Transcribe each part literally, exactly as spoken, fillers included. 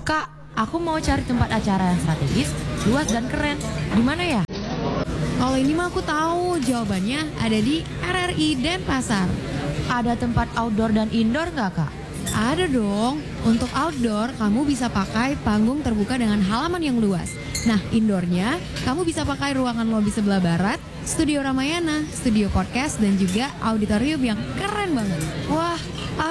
Kak, aku mau cari tempat acara yang strategis, luas dan keren. Di mana ya? Kalau ini mah aku tahu, jawabannya ada di R R I Denpasar. Ada tempat outdoor dan indoor nggak, Kak? Ada dong. Untuk outdoor, kamu bisa pakai panggung terbuka dengan halaman yang luas. Nah, indoornya, kamu bisa pakai ruangan lobi sebelah barat, studio Ramayana, studio podcast, dan juga auditorium yang keren banget. Wah,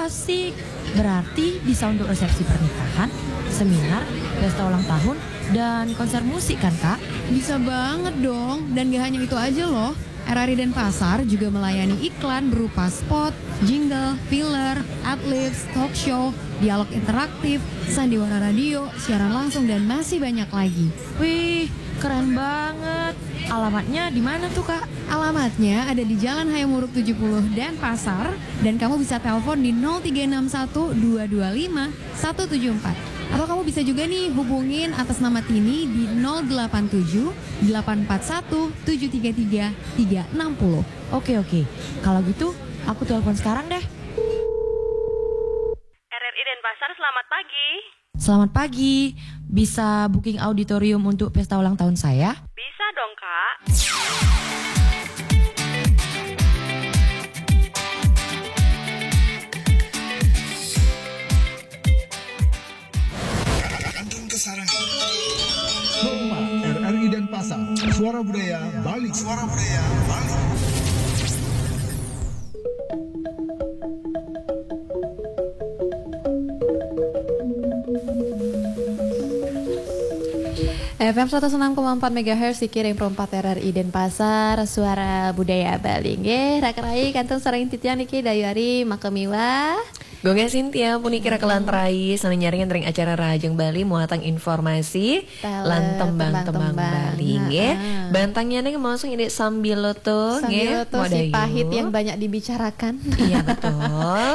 asik. Berarti bisa untuk resepsi pernikahan, seminar, pesta ulang tahun, dan konser musik kan, Kak? Bisa banget dong. Dan gak hanya itu aja loh. R R I Denpasar juga melayani iklan berupa spot, jingle, filler, adlibs, talk show, dialog interaktif, sandiwara radio, siaran langsung, dan masih banyak lagi. Wih, keren banget. Alamatnya di mana tuh, Kak? Alamatnya ada di Jalan Hayam Wuruk tujuh puluh Denpasar, dan kamu bisa telepon di nol tiga enam satu dua dua lima satu tujuh empat. Atau kamu bisa juga nih hubungin atas nama Tini di nol delapan tujuh delapan empat satu tujuh tiga tiga tiga enam puluh. Oke, oke. Kalau gitu, aku telepon sekarang deh. R R I Denpasar, selamat pagi. Selamat pagi. Bisa booking auditorium untuk pesta ulang tahun saya? Bisa dong, Kak. Kantun Kesarangan. Hormat R R I Denpasar. Suara Budaya Bali. Suara Budaya Bali. F M seratus enam koma empat megahertz dikirim perempat R R I Denpasar, Suara Budaya Bali. Nggih, raka rai kantun sareng titiang niki dayu ari makemiwah. Gung Sintia puniki raka lan rai sané nyarengin ring acara Rahajeng Bali muatan informasi lan tembang-tembang Bali nggih. Bantangnya nih ngomong indik sambiloto nggih. Sambiloto si pahit yang banyak dibicarakan. Iya betul.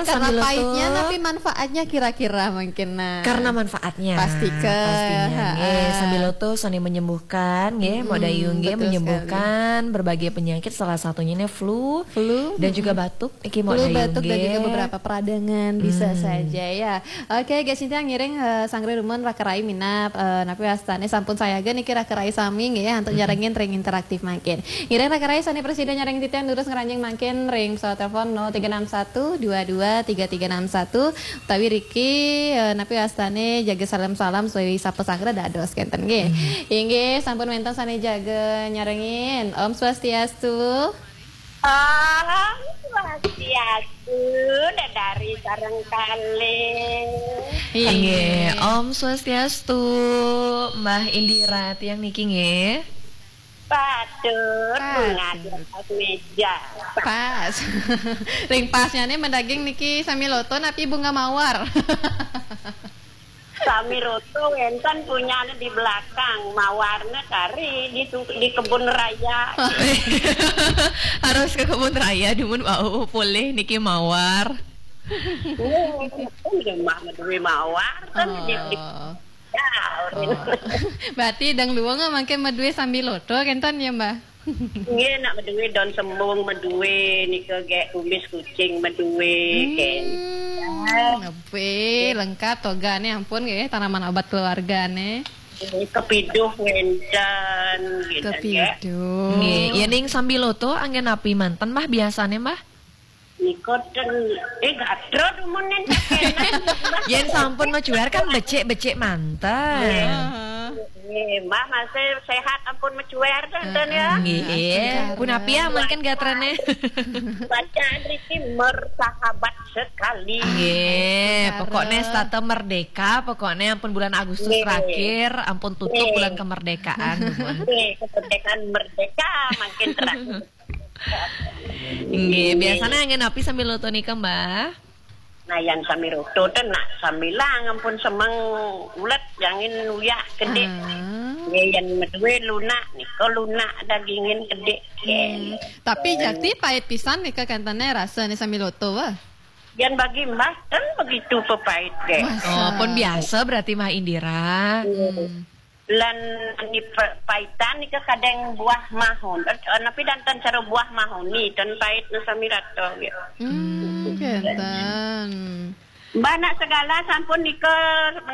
Karena pahitnya tapi manfaatnya kira-kira mungkin nah. Karena manfaatnya. Pasti ke. Pastinya nggih. Sambiloto sané menyembuhkan nggih, Mbok Dayu nggih, menyembuhkan berbagai penyakit salah satunya ini flu, flu dan juga batuk. Iki mau flu, batuk dan juga beberapa peradangan bisa saja ya. Oke, guys, intinya ngiring uh, sangre rumun raka rai minap uh, napi wastane sampun sayaga niki raka rai sami nggih ya untuk nyarengin ring interaktif mangkin. Ngiring raka rai sane presiden nyareng titian terus ngeranjing mangkin ring pesawat telepon nol tiga enam satu dua dua tiga tiga enam satu utawi riki uh, napi wastane jaga salam-salam suwi sapa sangre dados kenten nggih. Inggih sampun wenten sane jaga nyarengin. Om Swastiastu. Om Swastiastu, dedari sareng kalih. Inggih, Om Swastiastu, Mbah Indira tiang niki nggih. Batur, bunga di atas meja. Pas. Ring pasnya nih mendaging niki sami loto napi bunga mawar. Sami roto wenten punyane di belakang, mawarne kari di, di kebun raya. Harus ke kebun raya dumun wau polih niki mawar. Oh, mah meduwe mawar kan di, di Oh. Ya, oh. Berarti dang luwung mangke meduwe sami loto kenten ya, Mbah? Nggih, nak meduwe daun sembung, meduwe nika gek kumis kucing, meduwe hmm, gek. Oke, lengkap togane ampun nggih, tanaman obat keluargane. Kepiduh wenten gitu. Kepiduh. Nggih, ya ning sambiloto anggen api manten Mbah biasane Mbah? Nika ten eh gatra dumun enten. Yen sampun mecuer kan becik-becik manten. Nggih, Mbah masih sehat ampun mecuer ten ya. Nggih. Punapi ya mangkin gatrane. Bacaan riki mersahabat sekali. Nggih, pokoknya stata merdeka, pokoknya ampun bulan Agustus terakhir, ampun tutup bulan kemerdekaan. Nggih, kemerdekaan merdeka makin terakhir. Nggih, biasanya angin api sambil loto nika, Mbah? Nah, yang sami roto ten nak sambilang ampun semeng ulet yangin uyak kedik. Ah. Nggih, yang meduwe lunak nika lunak dagingin kedik. Hmm. Tapi jati pahit pisan nika kantane rasane sami loto wah. Yang bagi Mbah ten begitu pepahit deh. Oh, pun biasa berarti Mbah Indira. Hmm. Lan ni paitan nika kadang buah mahon. Eh, napi danten cara buah mahon ni ten pahit na sami rata gitu. Hmm, kenten. Mbah nak segala sampun nika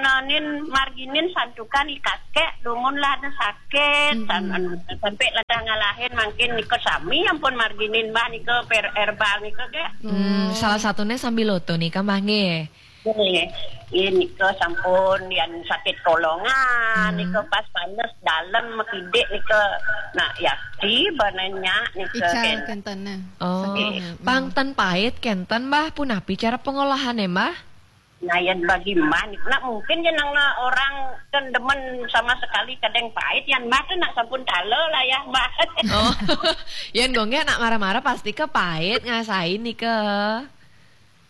nenin marginin santukan i kakek, dumun lah ada sakit, san-, sampai lah dah ngalahin mangkin nika sami ampun marginin mbah nika per herbal nika ge. Hmm, salah satunya sambiloto nika, Mbah, nggih. Nggih. Iya nika sampun yang sakit kolongan, nika pas panas dalam makidik nika nak yakti bananya nika. Ical kenten. Kenten, nah. Oh, sakit. Pang ten pait kenten, Mbah, punapi cara pengolahannya, Mbah? Nah, yang bagi mbah nika, nak mungkin ya nang orang kan demen sama sekali kadang pait, yang mbah tu nak sampun talo lah ya, mbah. Oh, yang gonge nak marah-marah pasti ke pait ngasain nika.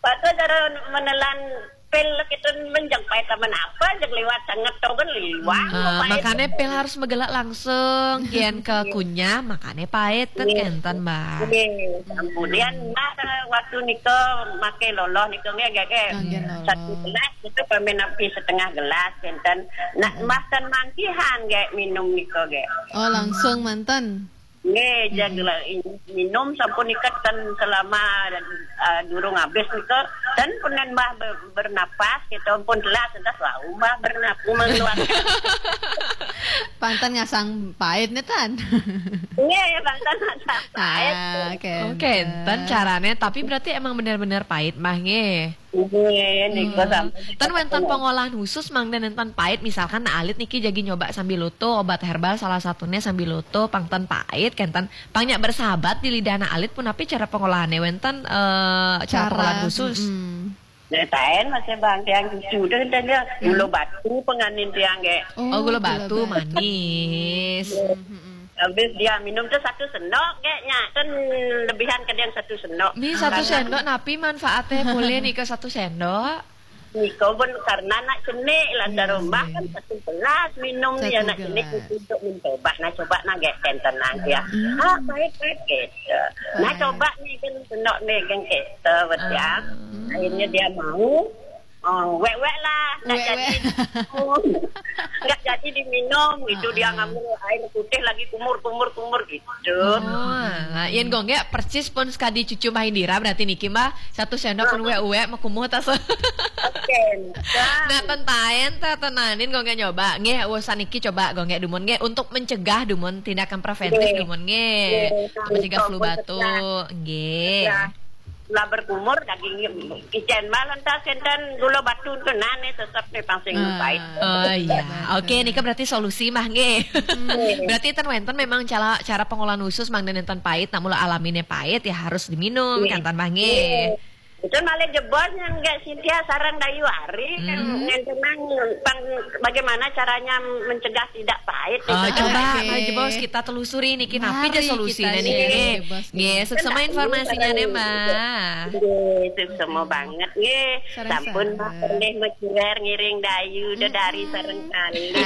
Pada cara menelan pil kita menjang pait taman apa, jeng liwat sangat tau kan liwat. Ah, makanya pil harus megelak langsung, kian ke kunyah, makanya pait, tet kenten, Mbah. Nggih, kemudian mbah waktu nika make loloh nika nggih, nggih, nggih. Nggih, loloh. Satu gelas itu pamen api setengah gelas, kenten. Nak mbah ten mangkihan nggih minum nika nggih. Oh, langsung manten. Nggih, jaga minum sampun nika ten selama, eh, durung habis nika, ten pun mbah ber-, bernapas, kita pun telas, entas wau mbah bernapas mengeluarkan. Pantan ngasang pait nih, Tan. Iya, ya, pantan ngasang pait. Ah, oke. Oke, enten caranya, tapi berarti emang bener-bener pait, Mbah, nggih. Nggih, nika sampun. Ten wenten pengolahan khusus, Mang, dan enten pait, misalkan nah alit niki jagi nyoba sambiloto, obat herbal salah satunya sambiloto, pang ten pait, kenten pang nyak bersahabat di lidah nah alit punapi cara pengolahannya, wenten, eh, cara pengolahan khusus. Ceritain masih bang tiang cucu deh, deh, dia gula batu penganin tiang ge. Oh, gula batu manis. Habis dia minum tuh satu sendok ge, nya kan lebihan ke dia satu sendok. Nih, satu sendok napi manfaatnya boleh nih ke satu sendok? Nika pun karena nak cenik lah, rumah kan satu gelas minum ya nak cenik untuk mencoba, nah coba nak ge kenten nang ya. Ah, pait-pait gitu. Nah, coba nih kan sendok nih kan gitu, betul. Akhirnya dia mau, oh, wek-wek lah, nggak jadi. Nggak jadi diminum gitu, dia ngambil air putih lagi kumur-kumur-kumur gitu. Oh, lah, yen gonge persis pun sekadi cucu Mbah Indira, berarti niki, Mbah, satu sendok pun uwek-uwek mekumuh tas. Oke. Nah, tentaen ta tenanin gonge nyoba. Nggih, urusan niki coba gonge dumun nggih untuk mencegah dumun tindakan preventif dumun nggih. Untuk mencegah flu batuk nggih. Lah berkumur daging icen malah tas kenten gula batu tu nane tetap nih pang sing pait. Oh iya. Oke, nika berarti solusi mah nggih. Berarti ten wenten memang cara, cara pengolahan khusus Mang, dan enten pait, nak mula alamine pait ya harus diminum, kenten mah nggih. Itu malah jebos yang nggak Cynthia sarang Dayu Ari kan ngentenang pang bagaimana caranya mencegah tidak pait. Oh, itu coba, mari jebos kita telusuri niki, napi aja solusinya niki. Nggih, suksema informasinya nih, Mbah. Nggih, suksema banget nggih. Sampun Mbah pernah mecuer ngiring Dayu dedari sareng kali.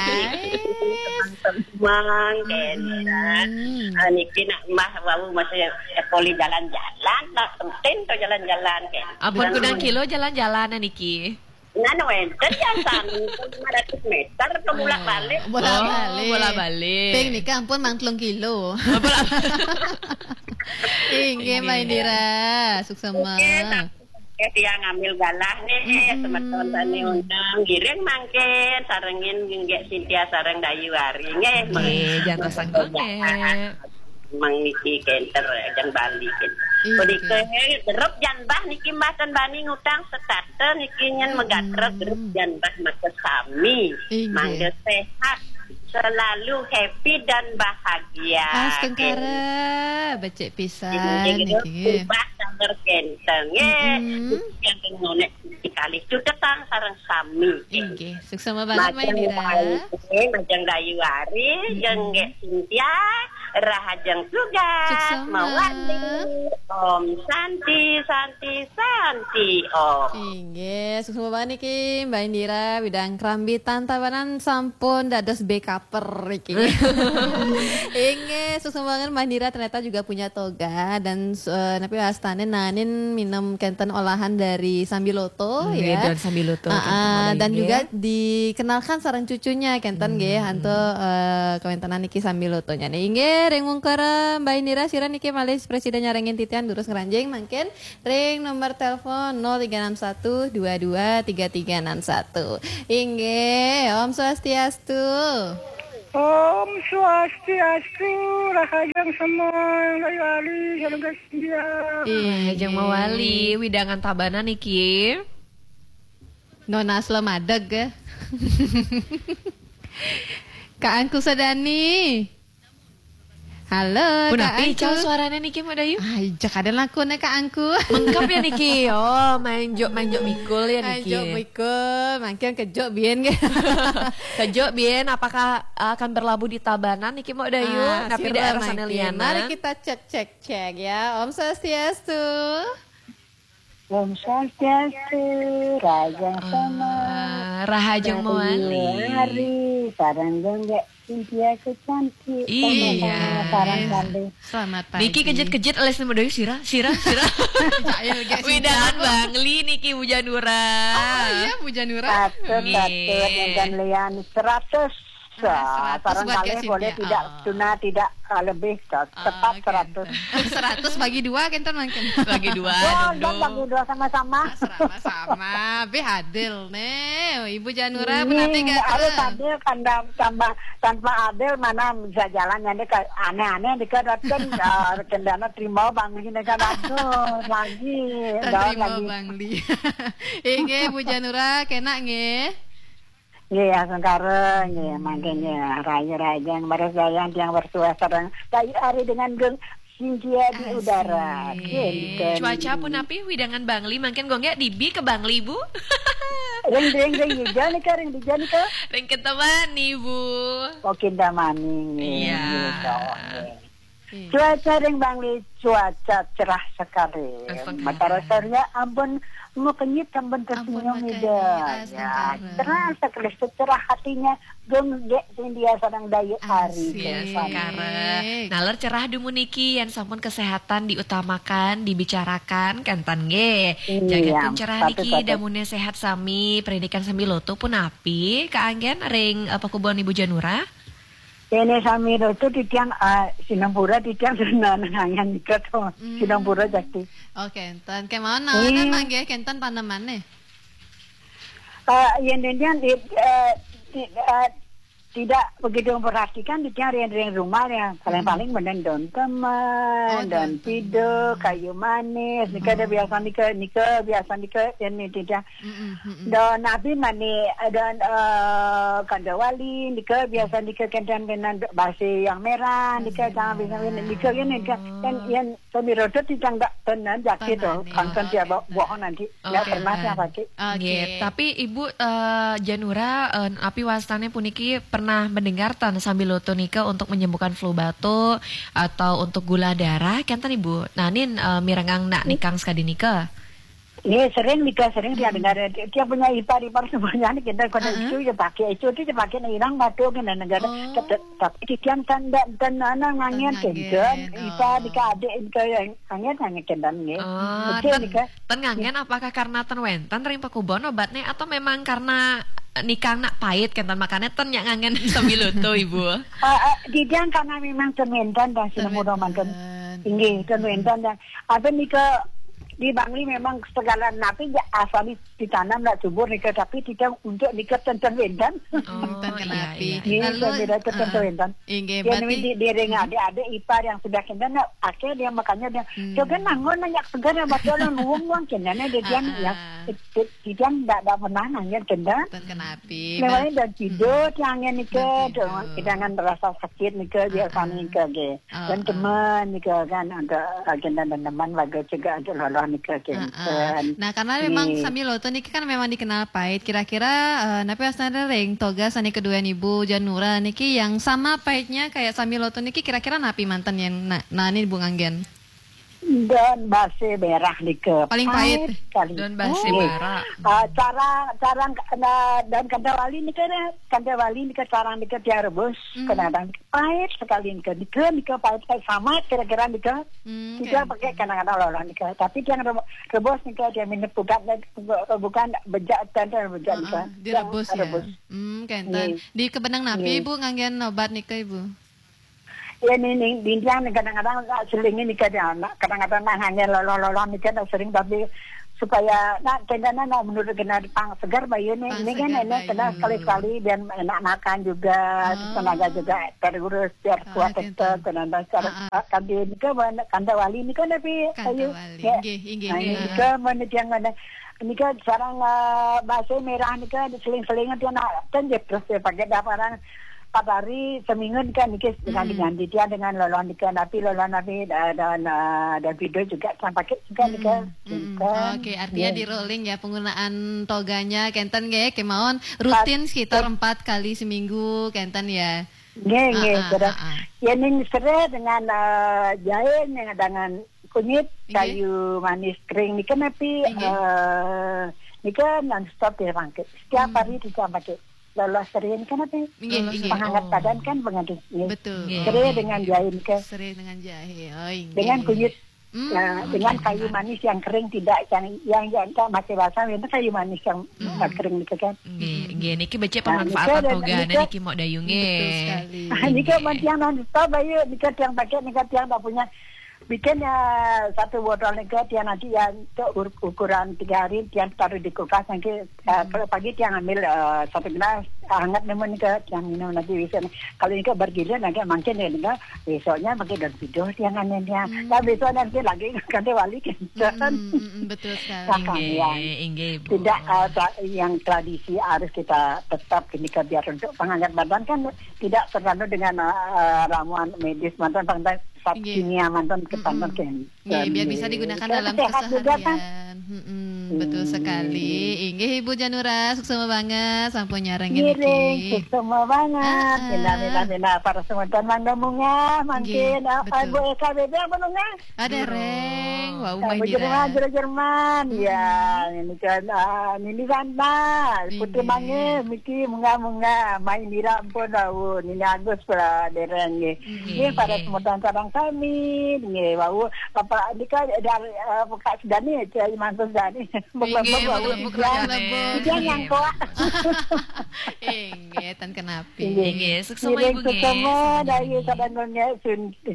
Mang kenten. Ah, niki nak Mbah wau masih sekoli jalan-jalan, nak penting to jalan-jalan kenten. Ampun, kudang kilo jalan-jalan niki. Nah, wenten yang sami lima ratus meter ke bolak-balik. Bolak-balik. Oh, bolak-balik. Ping nika ampun mang telung kilo. Oh, bolak-, inggih, Mbak Indira, suksema. Oke, tiang ngambil galah nih, semeton tani undang, giring mangkin, sarengin nggih Cynthia sareng Dayu Ari nggih. Nggih, jantosan gonge. Mang niki kenten, jeng Bali kenten. Punika, eh, derup jan Mbah niki Mbah ten bani ngutang setata niki nyen megatrep derup jan Mbah maka sami. Mangga sehat, selalu happy dan bahagia. Astungkara, becik pisan niki. Mbah sabar kenten nggih. Yang ngonek kalih cutetang sareng sami. Inggih, suksema banget, Mbak Indira. Majeng Dayu Ari, jeng Cynthia, rahajeng tugas, suksema. Mawali. Om Santi, Santi, Santi, Om. Inggih, suksema banget niki, Mbak Indira, bidang kerambi tantabanan sampun dados B K per iki. Inggih, suksema banget Mbak Indira ternyata juga punya toga dan, eh, napi wastane nanin minum kenten olahan dari sambiloto, nggih, ya. Daun sambiloto, ah, kenten ah, dan juga dikenalkan sareng cucunya kenten nggih, anto, eh, kawentenan niki sambilotonya nih. Inggih. Ring mungkara, Mbak Indira, sira niki malih prasida nyarengin titiang durus ngranjing mangkin ring nomor telepon nol tiga enam satu dua dua tiga tiga enam satu. Inggih, Om Swastiastu. Om Swastiastu, rahajeng semeng, Rahayu Ari, salugas India. Ih, Rahajeng mawali, wewidangan Tabanan niki. Nona Asla madeg, eh. Kak Angku Sadani. Halo, Kak Angku. Punapi ical suarane niki, Mbok Dayu? Ai, ja kada lakune, Kak Angku. Mengkep ya niki. Oh, main jok, main jok mikul ya niki. Main jok mikul, mangkin kejuk biyen nggih. Kejuk biyen, apakah akan berlabuh di Tabanan niki, Mbok Dayu? Ah, tapi sira daerah sana mangkin. Lianan. Mari kita cek, cek, cek ya. Om Swastiastu. Om Swastiastu, rahajeng semeng. Ah, rahajeng mawali. Rahayu Ari, sareng Gung Gek Cynthia kecantik. Iya. Sama-sama, sareng kalih. Selamat pagi. Niki kejut-kejut alis nemu doi sira, sira, sira. Jail, Gek Cynthia. Wewidangan Bangli niki, Bu Janura. Oh, iya, Bu Janura. Patut, nggih. Patut, dan lian seratus. Ah, seratus sareng buat Gek kalih boleh Cynthia. Tidak, oh. Tuna tidak, ah, lebih, tepat. Oke, seratus. Seratus bagi dua, kenten mangkin. Bagi dua, wah, dong, dong. Bagi dua sama-sama. Ah, sama-sama. Bih adil, nih. Ibu Janura, hmm, punapi, Gek? Harus adil, tanpa, tanpa, tanpa adil, mana bisa jalan, yang dekat, aneh-aneh, dekat, datang, ah, kendana terima, Bangli, ini kan, aduh, lagi. Terima, lagi. Bangli. Inggih, Bu Janura, kena, nggih. Nggih, asung kara, nggih, mangke nggih, rahayu rahajeng, leres rahajeng tiang bersuah sareng Rahayu Ari dengan Gung Cynthia di udara. Asik. Kenten. Cuaca punapi wewidangan Bangli, mangkin Gung Gek dibi ke Bangli, Bu? Ring, ring, ring dija nika, ring dija nika. Ring Kintamani, Bu. Oh, Kintamani, nggih. Iya. Nggih, nggih. Iya. Cuaca ring Bangli, cuaca cerah sekali. Astagfirullah. Matahari surya ampun makenyit, ampun tersenyum, ampun makenyit, Ida. Astagfirullah. Ya, cerah sekali, secerah hatinya Gung Gek Cynthia sareng Rahayu Ari. Asik. Iya, Sangkara. Naler cerah dumun niki, yen sampun kesehatan diutamakan, dibicarakan, kenten nggih. Iya, jagaken cerah niki, patut, patut. Damune sehat sami, pendidikan sami loto punapi, kaanggen ring, eh, pakubunan Ibu Janura? Dene sami loto titiang, ah, sinampura titiang senengangan nika to. Hmm. Sinampura jakti. Oh, kenten. Kemawon nawanan, hmm, manggih kenten panemane. Ah, yen titiang, eh, ti-, eh, tidak begitu memperhatikan titiang ring, ring rumah ya. Paling-paling, hmm, menen daun temen, oh, daun, daun temen, piduk, kayu manis. Nika ada, hmm, biasa nika, nika biasa nika yen titiang. Mm-mm, mm-mm. Dan napi mani, dan, eh, kandawali, nika biasa nika kenten-kenten basi yang merah, nika jangan biasa, nika yen, nika yen, yen sami rodot titiang ndak tenen jakti to, kangkon dia bawa, bawa nanti. Nggak pernah saya pakai. Oke. Nggih, tapi Ibu, eh, Janura, eh, api wastane puniki pernah mendengar ten sambiloto nika untuk menyembuhkan flu batuk atau untuk gula darah, kenten Ibu? Nah, nin, eh, mirengang nak nikang sekadi nika. Nggih, sering nika, sering dia dengar. Dia, dia punya ipar-ipar semuanya ni kita kena isu je pakai, isu tu je pakai nak hilang batuk kena negara. Oh. Tapi, tapi titiang kan ndak, kan ana ngangen kenten. Ipar nika adik nika yang ngangen, ngangen kenten nggih. Oh, betul ten, nika. Ten ngangen apakah karena ten wenten ring pakubunan obatnya atau memang karena nikang nak pait kenten makanya ten nyak ngangen sambiloto, Ibu? Ah, ah, titiang karena memang ten wenten dah sinampura manten. Inggih, ten wenten dah. Apa nika di Bangli memang segala napi ja asal di, ditanam nak subur nika, tapi titiang untuk nika ten, ten wenten. Oh, ten kenapi. Iya, iya. Lalu, ten wenten. Inggih, berarti di, di ring adik-adik ipar yang sudah kenten nak akhir dia makanya dia, hmm, coba nangon nanya segar yang baca orang luang luang kenten dia, dia, ah, ya, ah, titiang ndak, ndak pernah nanya kenten. Ten kenapi. Lewat dan tidur tiangnya nika, dan tidur. Jangan rasa sakit nika, biasa nika, nggih. Dan teman nika kan, ada agenda dan teman lagu juga ada loloh nika kenten. Nah, karena memang sambiloto niki kan memang dikenal pahit. Kira-kira, eh, napi wastane ring toga sane kedua Ibu Janura niki yang sama pahitnya kayak sambiloto niki kira-kira napi manten yang na-, nani Bu nganggen? Daun basi merah nika. Paling pahit. Pahit sekali. Daun basi merah. Ah, carang, carang, nah, daun kandawali nika, kandawali nika carang nika tiang rebus. Hmm. Kadang-kadang pahit sekali nika. Nika, nika pahit, pahit sama kira-kira nika. Hmm, nika pakai kadang-kadang loloh nika. Tapi tiang rebo-, rebus nika dia minum bukan, bukan bejak, tenten bejak nika. Direbus ya? Rebus. Hmm, kenten. Nggih. Di kebenang napi Ibu nganggen obat nika, Ibu? Ya, nih, nih, dinding kadang-kadang nak seling ini kadang, nak, kadang-kadang nak hanya loloh-loloh ini kan sering, tapi supaya nak kena nak menurut kena pang segar bayu nih, ini kan enak kena sekali-sekali biar enak makan juga, tenaga juga terurus, biar kuat tetap kena dasar. Kan di ini kan kanda wali ini kan tapi ayu. Ini kan mana tiang mana, ini kan sarang, eh, bahasa merah ini kan seling-seling dia nak kan dia terus dia pakai dah barang empat hari seminggu kan niki dengan diganti dia dengan lolon nika, tapi lolon tapi dan, dan, eh, dan video juga sampai juga nika. Oke, artinya di rolling ya penggunaan toganya kenten nggih, kemawon rutin sekitar empat kali seminggu kenten ya. Nggih, nggih, terus ya ning serai dengan, eh, jahe ning dengan kunyit, kayu manis kering nika napi, eh, nika non stop dia pakai. Setiap hari dia pakai. Lolos sering kan apa? Nggih, nggih. Penghangat badan kan mengandung. Betul. Serai dengan jahe ke. Serai dengan jahe. Oh, nggih. Dengan kunyit. Nah, dengan kayu manis yang kering, tidak yang, yang, yang tak masih basah, itu kayu manis yang kering gitu kan. Nggih, nggih. Niki becik pemanfaatan toga niki mau dayu nggih. Betul sekali. Niki mau tiang non stop bayu, niki tiang pakai, niki tiang tak punya. Bikin ya satu botol nika tiang nanti ya untuk ukuran tiga hari tiang taruh di kulkas nanti, eh, kalau pagi tiang ambil, eh, satu gelas hangat nemen nika tiang minum nanti bisa. Kalau nika bergilir nanti makin ya nika besoknya pakai daun piduh tiang anehnya. Nah besok nanti lagi kan wali kan. Betul sekali. Inggih, inggih, Bu. Tidak, eh, tra- yang tradisi harus kita tetap ini biar untuk penghangat badan kan tidak tergantung dengan, eh, ramuan medis mantan, mantan kimia mantan ketantan kan. Nggih, biar bisa digunakan dalam keseharian. Betul sekali. Inggih Ibu Janura, suksma banget sampun nyarengin niki. Suksma banget. Mina, mina, mina para semeton mangga munga mangkin. Ibu K B B apa nunga? Ada reng. Wau main Jerman, Jerman. Ya, ini kan, ah, Nini Santa, Putri Mange, Miki munga-munga, main dira ampun wau, Nini Agus pula dereng nggih. Nggih, para semeton sareng sami nggih wau. Bapak nika dari, eh, Kak Sudani, Cai Mantu Sudani. Nggih, Buk-buk. Dia nyangkok. Inggih, tan kenapi. Inggih, suksma Ibu nggih. Suksma dari sadaya nggih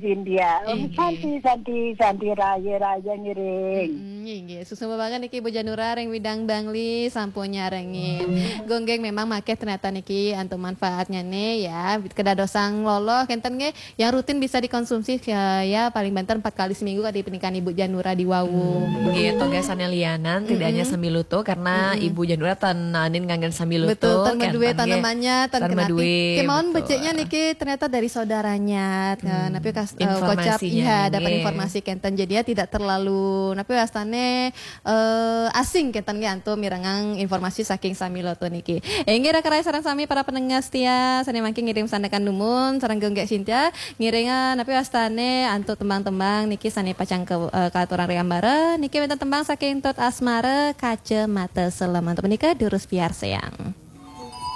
Sindia. Om Santi, Santi, Santi raya, raya ngiring. Inggih, suksma banget niki Ibu Janura ring Widang Bangli sampun nyarengin. Gonggeng memang makeh ternyata niki antuk manfaatnya nih ya. Kedadosan loloh kenten nggih yang rutin bisa dikonsumsi ya, ya paling banter empat kali seminggu kadi pendidikan Ibu Janura di wau. Nggih, toga sane lianan tidak hanya sambiloto karena Ibu Janura tan nanin nganggen sambiloto. Betul, tan madue tanamannya, tan kenapi. Kemawon beciknya niki ternyata dari saudaranya. Napi kas- eh, kocap iya dapat informasi kenten. Jadi ya tidak terlalu napi wastane eh, asing kenten nggih antuk mirengang informasi saking sambiloto niki. Inggih raka raya sareng sami para pendengar setia, sane mangkin ngirim sandekan dumun sareng Gonggeng Sintia ngiringan napi wastane antuk tembang-tembang niki sane pacang ke, eh, kaaturang ring ambara. Niki wenten tembang saking Tut Asmara Kacamata Selem. Antuk menika durus piarsayang.